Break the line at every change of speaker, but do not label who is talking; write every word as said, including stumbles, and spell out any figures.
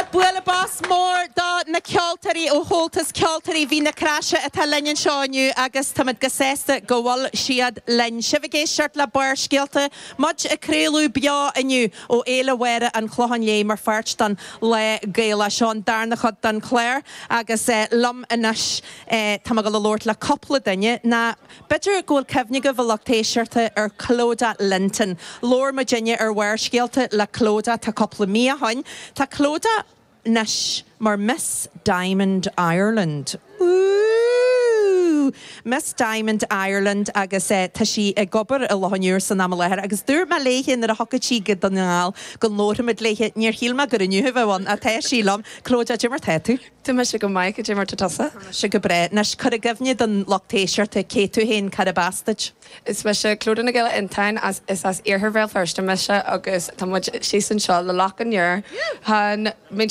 Bualadh bos mór do na ceoltóirí ó Chomhaltas Ceoltóirí Mhín na Craise atá linn anseo inniu agus táimid go sásta go bhfuil siad linn. Sibh ag éisteacht le Barrscéalta, muid ag craoladh beo inniu ó Fhéile Mháire an Chlocháin Léith mar pháirt den Lá Gaelach. Seo an darna chuid den chlár agus eh, liom anois eh, tá mé ag labhairt le cúpla duine ná b'fhéidir go bhfuil cuimhne agaibh a lucht éisteachta ar Clodagh Linton. Labhair muidinne ar Bharrscéalta le Clodagh tá cúpla mí ó shin. Tá Clodagh anois mar Miss Diamond Ireland. Ooh! Miss Diamond Ireland agus eh, tá sí ag obair i Loch an Iúir san am i láthair agus dúirt mé léithe nuair a thiocfadh sí go Dún na nGall go labharfaimid léithe níor shíl mé gur inniu a bheadh ann ach tá sí liom. Clodagh cad é mar tá tú?
Tá mise go maith cad é mar tá tusa.
Se go breá anois cuir i gcuimhne don lucht éisteachta cé tú féin cárb as duit.
Is mise Clodagh Nic Giolla Fhionntáin as is as iarthar Bhéal Feirste mise agus tá muid síos anseo le Loch an Iúir. Han min